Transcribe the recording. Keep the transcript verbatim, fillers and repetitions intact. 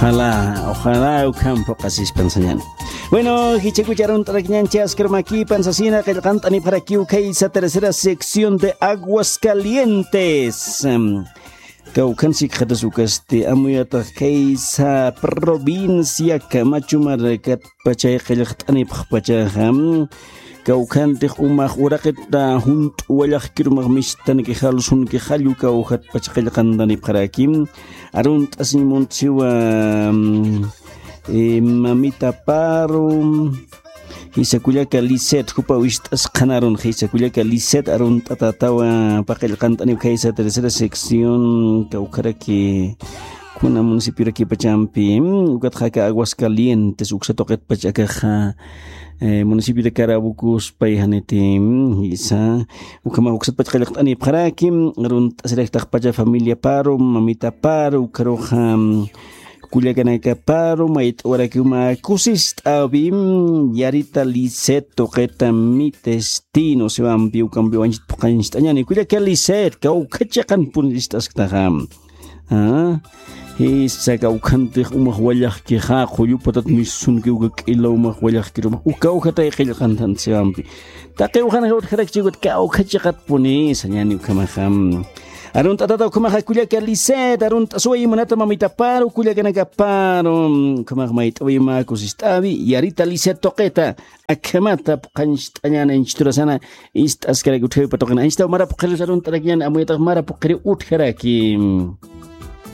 Ojalá, ojalá ukham phuqasispan sañäni. Bueno, jichhakucha arunt'arakiñäni, chaskarmakipan sasina qillqant'anipxarakiw khaysa tercera sección de Aguascalientes. Kawkhan sikxatas ukasti amuyatax khaysa provincia Camacho Maracatpachay qillqt'anipxpachaxa. Kawkhantix umax uraqita junt'u wallaxkirumax mistanki jalsunki jallu kawkhatpach qillqantanipxaraki. Arunt'asiñ muntsiwa, mm, eh, mamita Paru, jisa kullaka Liset, jupa wist'as qhanarun, jisa kullaka Liset arunt'atatawa paqillqantanip khaysa tercera sección, kawkharaki kuna municipiorakipachampi, mm, ukatxa aka Aguascalientes uksa tuqitpach akaxa, eh, municipio de Carabucos pay janiti, mm, jisa, ukhamax uksatpach qillqt'anipxaraki, mm, arunt'asiraktaxpacha familia Paru, mamita Paru, ukharuxa, mm, kullakanaka Paru, mayt'awarakiw mä kusist'äwi, mm, Yarita Liset tuqita mi destino siwampi, ukampi wañchit phuqañcht'añäni, kullaka Liset, kawkha chiqanpun ist'asktaxa. Ah, jisa kawkhantix umax wallaxkixa, qullu patat misunki uka k'ila umax wallaxkirumax, uka ukhatay qillqantan siwampi. Taqiw qanxa utjarakchi ukat kawkha chiqatpuni sañäni ukhamaxa. Arunt'atata ukhamaxa kullaka Liset, arunt'asuwa imanata mamita Paru, kullakanaka Paru, ukhamax mayt'awi mä kusist'äwi, Yarita Liset tuqita, akhamata phuqañcht'añäni anchhiturasana, ist'askarak utjawipa tuqina. Anchhitaw mara phuqhirus arunt'arakiñäni, amuyatax mara phuqhiriw utjaraki.